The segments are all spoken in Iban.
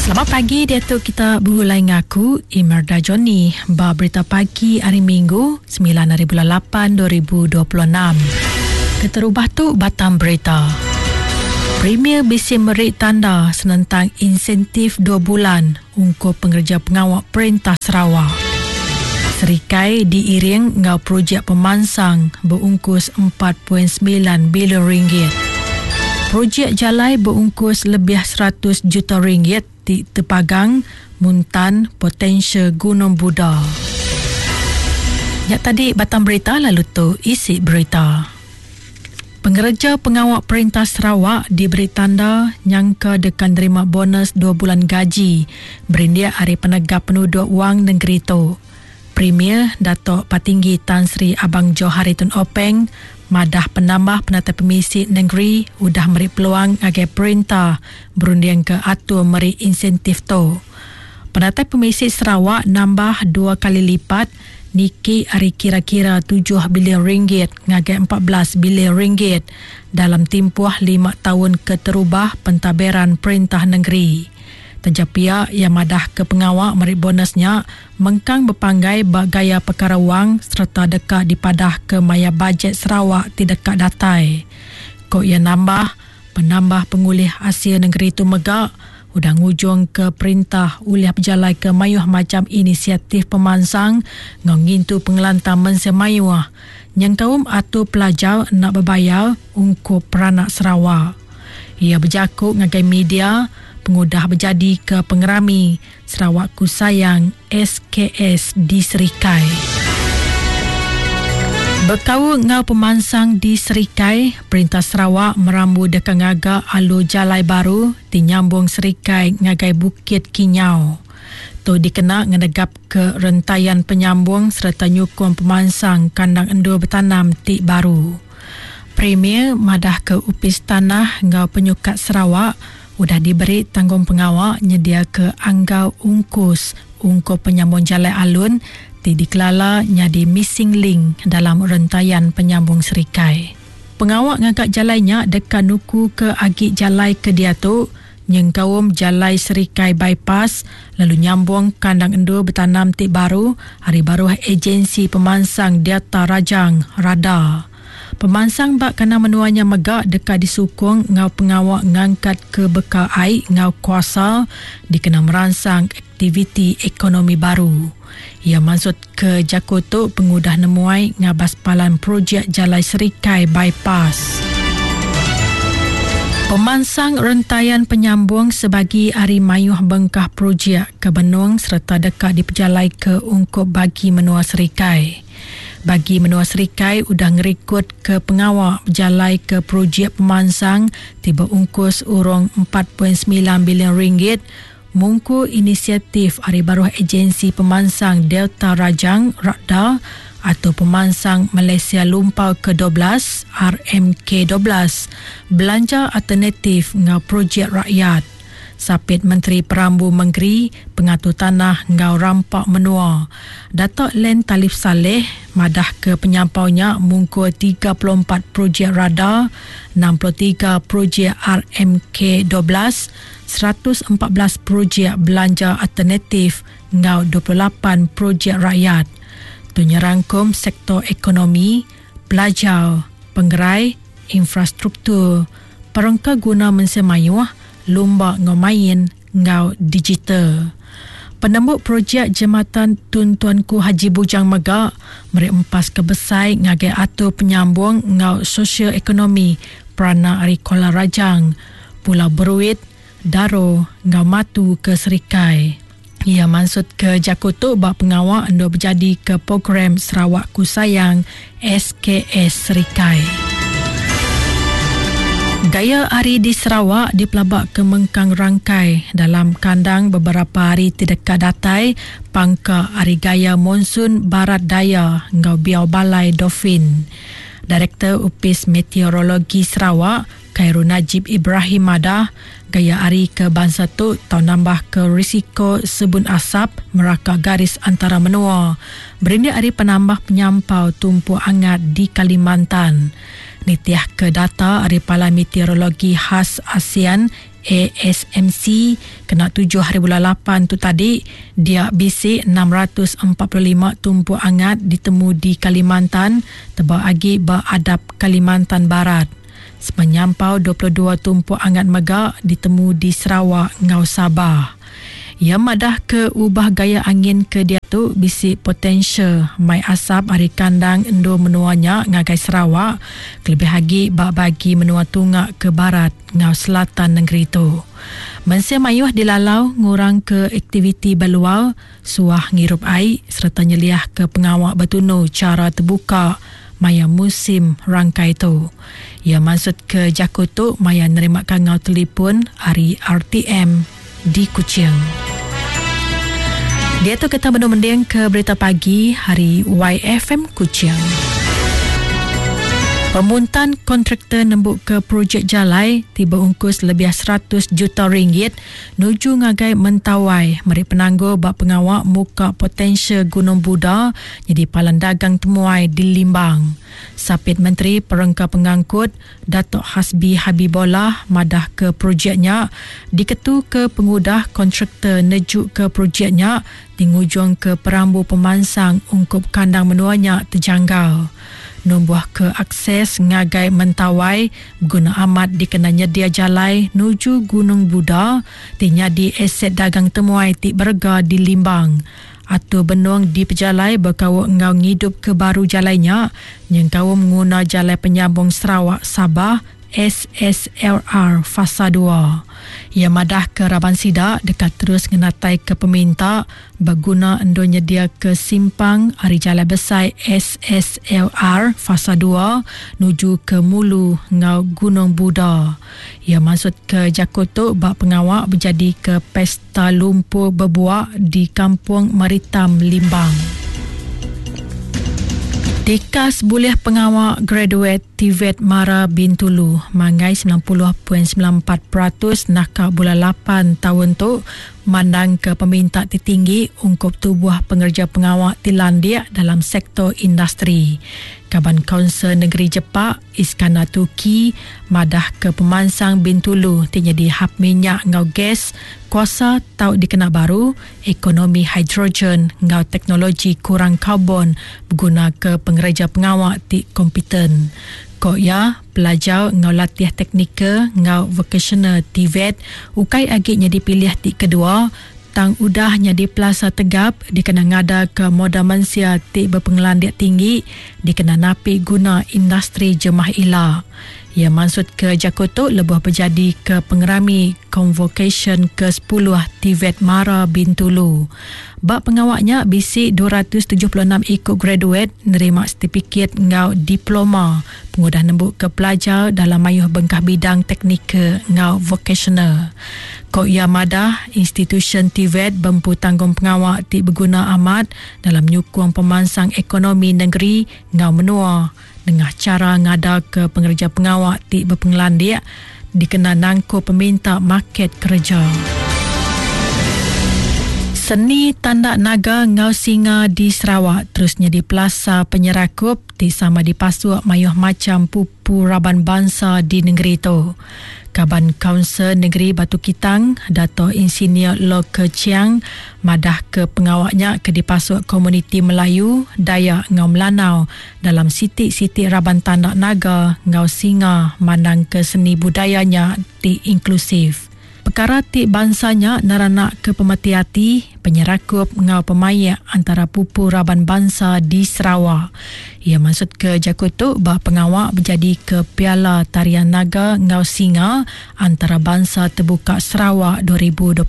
Selamat pagi diatu kita begulai ngaku Imerda Johnny ba berita pagi hari Minggu 9 hari bulan 8 2026. Keterubah tu batang berita. Premier bisi meri tanda senentang insentif 2 bulan ungkup pengereja pengawa perintah Sarawak. Serikai diiring enggau projek pemansang beungkus 4.9 bilion ringgit. Projek jalai beungkus lebih 100 juta ringgit ti tepagang muntan potensial Gunung Buda. Nya tadi batang berita lalu tu isi berita. Pengereja pengawa perintah Sarawak diberi tanda nyangka deka nerima bonus dua bulan gaji berindik ari penegap penuduk wang nengeri tu. Premier Datuk Patinggi Tan Sri Abang Johari Tun Openg madah penambah penatai pemisi nengeri udah meri peluang ngagai perintah berundingka atur meri insentif tu. Penatai pemisi Sarawak nambah dua kali lipat niki ari kira-kira tujuh bilion ringgit ngagai 14 bilion ringgit dalam timpuh lima taun keterubah pentadbiran perintah nengeri. Taja pia, iya madahka pengawa meri bonus nya mengkang bepanggai ba gaya pekara wang sereta deka dipadahka maya bajet Sarawak ti deka datai. Ku iya nambah, Penambah pengulih asil nengeri tu mega udah ngujungka perintah ulih bejalaika mayuh macham inisiatif pemansang enggau ngintu pengelantang mensia mayuh nyengkaum atur pelajar enda bebayar ungkup peranak Sarawak. Iya bejaku ngagai media pengudah bejadika pengerami Sarawakku Sayang, SKS, di Serikai. Bekaul enggau pemansang di Serikai, Perintah Sarawak merambu deka ngaga alur jalai baru ti nyambung Serikai ngagai Bukit Kinyau. Tu dikena ngenegapka rentayan penyambung sereta nyukung pemansang kandang endur betanam ti baru. Premier madahka Opis Tanah enggau Penyukat Sarawak udah diberi tanggungpengawa nyediaka anggau ungkus ungkup penyambung jalai alun ti dikelala nyadi missing link dalam rentayan penyambung serikai. Pengawa ngaga jalai nya deka nukuka agi jalai ke diatu nyengkaum Jalai Serikai Bypass lalu nyambung kandang endur betanam ti baru ari baruh Ejensi Pemansang Delta Rajang, RADA. Pemansang ba kandang menua nya mega deka disukung enggau pengawa ngangkatka bekal ai enggau kuasa dikena meransang aktiviti ekonomi baru. Iya mansutka jaku tu pengudah nemuai ngabas palan projek Jalai Serikai Bypass. Pemansang rentayan penyambung sebagi ari mayuh bengkah projek ke benung sereta deka dipejalaika ungkup bagi menua Serikai. Bagi menua Serikai udah ngerikod pengawa bejalaika projek pemansang ti beungkus urung 4.9 bilion ringgit mungkur inisiatif ari baruh Ejensi Pemansang Delta Rajang, RADDA, atau Pemansang Malaysia Lumpau ke-12, RMK 12, belanja alternatif enggau projek rakyat. Sapit Menteri Perambu Mengeri, Pengatur Tanah enggau Rampa Menua, Datuk Len Talif Salleh madahka penyampau nya mungkur 34 projek RADA, 63 projek RMK 12, 114 projek belanja alternatif enggau 28 projek rakyat. Tu nyerangkum sektor ekonomi, pelajar, pengerai, infrastruktur, perengka guna mensia mayuh, lumba enggau main enggau digital. Penembu projek Jematan Tun Tuanku Haji Bujang mega meri empas ke besai ngagai atur penyambung enggau sosial ekonomi peranak ari Kuala Rajang, Pulau Beruit, Daro enggau Matu ke Serikai. Iya mansutka jaku tu ba pengawa endur bejadika program Sarawakku Sayang SKS Serikai. Gaya hari di Sarawak dipelabaka mengkang rangkai dalam kandang beberapa hari ti deka datai pangka ari gaya monsun barat daya enggau biau balai Dolphin. Direktor Opis Meteorologi Sarawak, Khairul Najib Ibrahim madah, gaya hari ke bansa tu tau nambahka risiko sebun asap meraka garis antara menua berindik ari penambah penyampau tumpuk angat di Kalimantan. Nitihka data ari Palan Meteorologi Khas ASEAN, ASMC, kena tujuh haribulan lapan tu tadi, dia bisi 645 tumpuk angat ditemu di Kalimantan, tebal agi ba adap Kalimantan Barat. Sepenyampau 22 tumpuk angat mega ditemu di Sarawak enggau Sabah. Iya madah ke ubah gaya angin ke diatu bisi potensial mai asap ari kandang endur menua nya ngagai Sarawak kelebih agi ba bagi menua tunga ke barat enggau selatan nengeri tu. Mensia mayuh dilalau ngurangka aktiviti ba luar, suah ngirup ai sereta nyeliahka pengawa betunu chara tebuka maya musim rangkai tu. Iya mansutka jaku tu maya nerima kangau telipun ari RTM di Kuching. Diatu kita benung mending ke berita pagi hari YFM Kuching. Pemuntan kontraktor nembuka projek jalai ti beungkus lebih 100 juta ringgit nuju ngagai Mentawai meri penanggul ba pengawa muka potensial Gunung Buda nyadi palan dagang temuai di Limbang. Sapit Menteri Perengka Pengangkut Datuk Hasbi Habibollah madahka projek nya diketuka pengudah kontraktor nejuka projek nya ti ngujungka perambu pemansang ungkup kandang menua nya tejanggal. Numbuhka akses ngagai Mentawai beguna amat dikena nyedia jalai nuju Gunung Buda ti nyadi aset dagang temuai ti berega di Limbang. Atur benung dipejalai bekaul enggau ngidupka baru jalai nya nyengkaum nguna Jalai Penyambung Sarawak Sabah, SSLR, Fasa dua. Iya madahka raban sida deka terus ngenataika peminta beguna endur nyediaka simpang ari Jalai Besai SSLR Fasa dua nuju ke Mulu enggau Gunung Buda. Iya mansutka jaku tu ba pengawa bejadika Pesta Lumpur Bebuak di Kampung Maritam, Limbang. Tikas bulih pengawa graduate TVET Mara Bintulu manggai 90.94% naka bulan lapan taun tu mandangka peminta ti tinggi ungkup tubuh pengereja pengawa ti landik dalam sektor industri. Kaban Kaunsil Negeri Jepak, Iskandar Turki madahka pemansang Bintulu ti nyadi hab minyak enggau gas, kuasa tau dikena baru, ekonomi hidrogen enggau teknologi kurang karbon begunaka pengereja pengawa ti kompeten. Ku iya, pelajar enggau latih teknikal enggau vokasional TVET ukai agi nyadi pilih ti kedua tang udah nyadi pelasar tegap dikena ngadaka modal mensia ti bepengelandik tinggi dikena napi guna industri jemah ila. Iya mansutka jaku tu lebuh bejadika pengerami Konvokesyen ke sepuluh TVET Mara Bintulu. Ba pengawa nya bisi 276 iku graduet nerima setipikit enggau diploma pengudah nembuka pelajar dalam mayuh bengkah bidang teknikal enggau vokasional. Ku iya madah, institusyen TVET bempu tanggungpengawa ti beguna amat dalam nyukung pemansang ekonomi nengeri enggau menua nengah chara ngadaka pengereja pengawa ti bepengelandik dikena nangkup peminta market kereja. Seni tanda naga enggau singa di Sarawak terus nyadi pelasar penyerakup ti sama dipasuk mayuh macham pupu raban bansa di nengeri tu. Kaban Kaunsil Negeri Batu Kitang, Dato Insinyur Lo Ke Chiang madahka pengawa nya ke dipasuk komuniti Melayu, Dayak enggau Melanau dalam siti-siti raban tanda naga enggau singa mandangka seni budaya nya ti inklusif. Pekara ti bansa nya neranakka pemeti ati, penyerakup enggau pemaik antara pupu raban bansa di Sarawak. Iya mansutka jaku tu ba pengawa bejadika Piala Tarian Naga enggau Singa Antarabansa Tebuka Sarawak 2026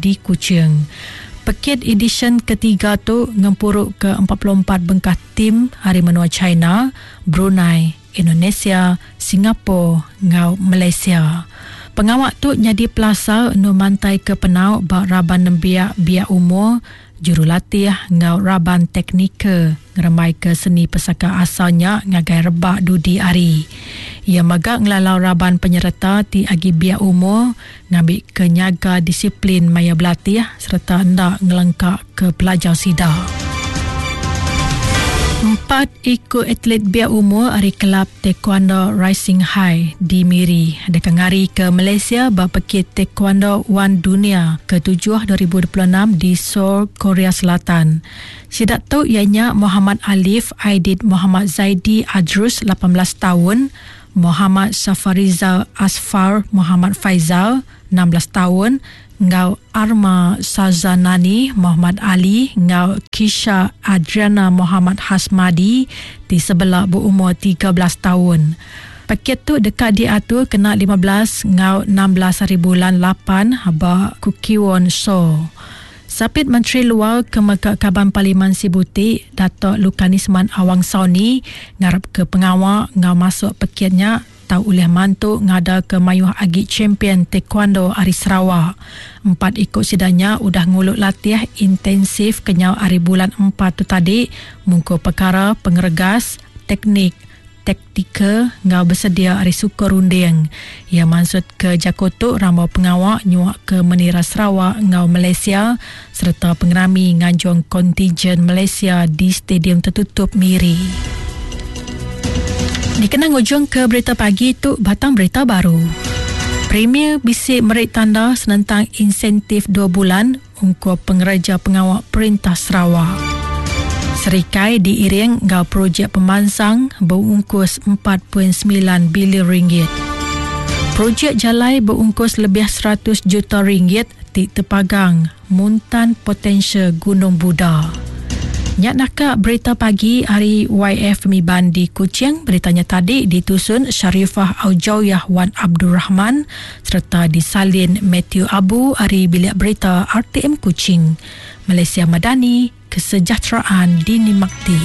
di Kuching. Pekit edisyen ketiga tu ngempuruka 44 bengkah tim ari menua China, Brunei, Indonesia, Singapore enggau Malaysia. Pengawa tu nyadi pelasar endur mantaika penau ba raban nembiak biak umur, jurulatih enggau raban teknikal ngerembaika seni pesaka asal nya ngagai rebak dudi hari. Iya mega ngelalau raban penyereta ti agi biak umur ngambika nyaga disiplin maya belatih sereta enda ngelengkaka pelajar sida. Empat iku atlet biak umur ari Kelab Taekwondo Rising High di Miri deka ngarika Malaysia ba Pekit Taekwondo One Dunia Ketujuh 2026 di Seoul, Korea Selatan. Sida tu iya nya Mohamad Alif Aidid Mohamad Zaidi Adrus, 18 taun, Mohamad Safarizal Asfar Mohamad Faizal, 16 taun, enggau Arma Sazanani Mohd Ali enggau Kisha Adriana Mohamad Hasmadi ti sebela beumur 13 taun. Pekit tu deka diatur kena 15 enggau 16 haribulan lapan ba Kukiwon, Seoul. Sapit Menteri Luar ke mega Kaban Parlimen Sibuti, Datuk Lukanisman Awang Sauni ngarapka pengawa enggau masuk pekit nya tau ulih mantu ngadaka mayuh agi champion taekwondo ari Sarawak. Empat iku sida nya udah ngulu latih intensif kenyau ari bulan Empat tu tadi mungkur pekara pengeregas, teknik, taktikal enggau besedia ari sukung runding. Iya mansutka jaku tu rambau pengawa nyuaka menira Sarawak enggau Malaysia sereta pengerami nganjung kontinjen Malaysia di Stadium Tertutup Miri. Dikena ngujungka berita pagi tu batang berita baru. Premier bisi meri tanda senentang insentif dua bulan ungkup pengereja pengawa perintah Sarawak. Serikai diiring enggau projek pemansang beungkus 4.9 bilion ringgit. Projek jalai beungkus lebih 100 juta ringgit ti tepagang muntan potensial Gunung Buda. Nya naka berita pagi ari YF Miban di Kuching. Berita nya tadi ditusun Sharifah Aujawiyah Wan Abdul Rahman sereta disalin Mathew Abu ari Bilik Berita RTM Kuching. Malaysia Madani, Kesejahteraan Dinikmati.